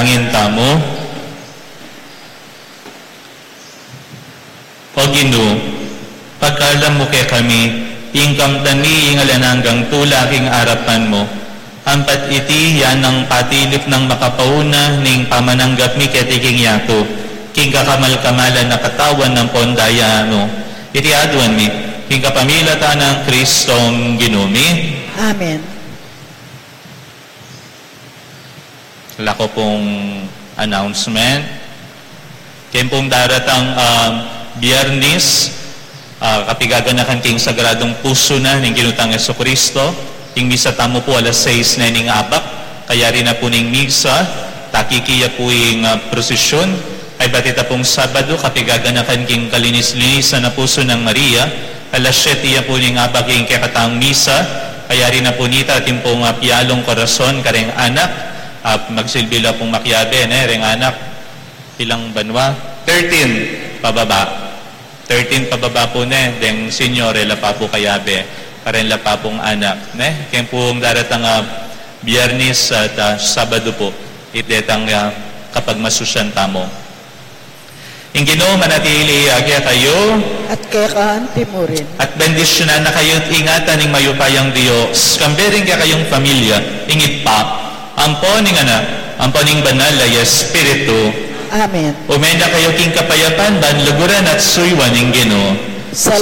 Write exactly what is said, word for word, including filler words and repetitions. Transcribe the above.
Manalangin tamu. O Ginu, pagkalam mu kekami ing kamtan mi ing alang anggang tula king arapan mu, ampat iti ya nang patilip nang makapauna ning pamananggap mi keti king yatu, king kakamal-kamalan a katawan ampon daya mu. Iti aduan mi king kapamilatan nang Kristong Ginu mi. Amen. Ala ku pung announcement. Keng pung daratang, ah, Biyernes, ah, kapigaganakan king Sagradung Pusu na ning Ginu tang Jesucristo, ing misa tamu pu alas sais na ning abak, kayari na pu ning misa, takiki ya pu ing, ah, prosesyun, ay bati ta pung Sabadu, kapigaganakan king kalinis-linisan a pusu nang Maria, alas siyete ya pu ning abak ing kekatang misa, kayari na pu nita atin pung, ah, pialung korason kareng anak, ah, magsilbi la pung makiabe, ne, reng anak, ilang banwa? Thirteen, pababa. Thirteen pababa pu, ne, deng senior, e la pa pu kayabe, kareng la pa pung anak, ne? Keng pung daratang, ah, Biyernes at, ah, Sabadu pu, iti detang, ah, kapagmasusyan tamu. Ing Ginu manatili ya kekayu. At keka anti mu rin. At bendisyunan na kayu at ingatan ning mayupayang Dios, kambe ring kekayung pamilya, ing Ibpa, ampo ning Anak, ampo ning Banal a Espiritu. Amen. Ume na kayu king kapayapan, ban luguran at suyuan ing Ginu. Salamat.